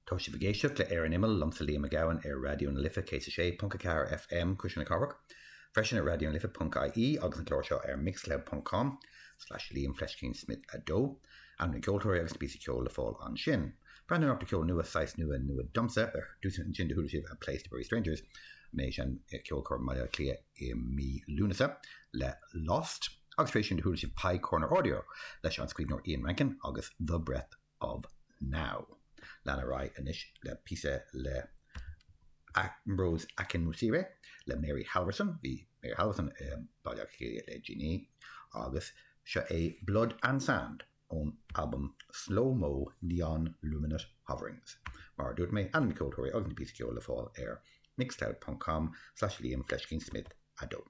Tá sibh ag éisteacht le Ar an Imeall, liomsa Liam Mac Gabhann ar Raidió na Life 106.4 FM, Cuisle na Cathrach, freisin ar raidionalife.ie agus an clár seo ar mixcloud ponc com slash Liam Fleiscín Smith 2. Ainm na gceoltóirí agus na píosaí ceoil le fáil ansin. Breathnú anocht ar cheol nua, saghas nua, nua domsa. Ar dtús ansin do chuala sibh A Place to Bury Strangers, mé ag seinm i Ceolchoirm Bhaile Átha Cliath i mí Lúnasa le Lost agus tar éis sin do chuala sibh Pie Corner Audio leis an scríbhneoir Ian Rankin agus The Breath of Now. Lean ar aghaidh anois le píosa le Ambrose Akinmusire le Mary Halvorson, bhí Mary Halvorson i Baile Átha Cliath le déanaí, agus seo é Blood and Sand ón albam Slow Mo Neon Luminous Hoverings. Mar a dúirt mé, ainm na gceoltóirí agus na píosaí ceoil le fáil ar mixcloud ponc com slash Liam Fleiscín Smith 2.